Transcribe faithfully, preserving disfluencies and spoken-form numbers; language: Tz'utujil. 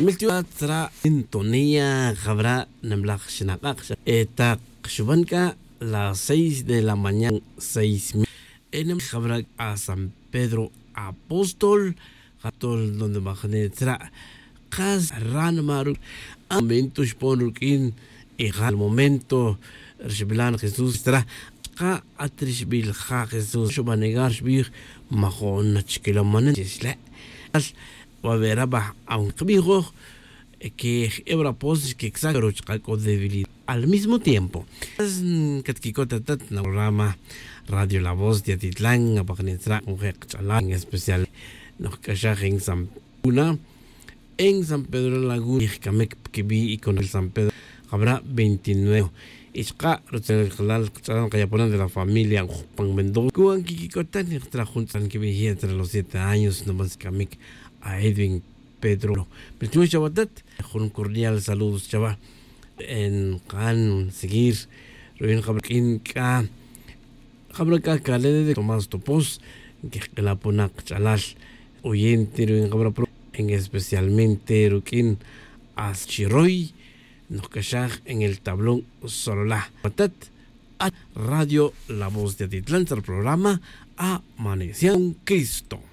Miltiwa tzra' sintonía jabra' nemlaj xnak'ak' eta xuban c'a las seis de la mañana, seis mil. Enem jabra' c'a san Pedro apóstol jatol donde majne tzra' kas ranma ru' amento xpon ruq'uin. Y ja' el momento rixbilan jesús tzra', c'a at rixbil ja' jesús xubanegar xbij, majo'n nachiquilamanen chixle'. Wa vera baj aun kbijoj que jebra pos xquicsak pero chka' c'o debilidad. Al mismo tiempo catquicot atat na programa radio la voz de atitlan apajnitzra' jun je' kch'alal en especial noj c'axaj en san pedro laguna, en san pedro laguna y jcamic pquibi' y con el san pedro jabra' veintinueve. Y chka' rutzil jalal kch'alal kayaponen de la familia jupan mendoza cuan quiquicotan y jtzra jun tz'an quibij ye' tzra los siete años nomás camic a edwin pedro. Pero chuwe chawa tat jun cordial saludos chawa. En kan seguir ruin jabra' q'uin c'a jabra' c'a calene de tomás topos que jk'ila ponak kch'alal oyente ruin jabra' pro en especialmente ruq'uin as chiroy noj c'axaj en el tablón solola. Atat at radio la voz de atitlan tzra programa amanecian cristo.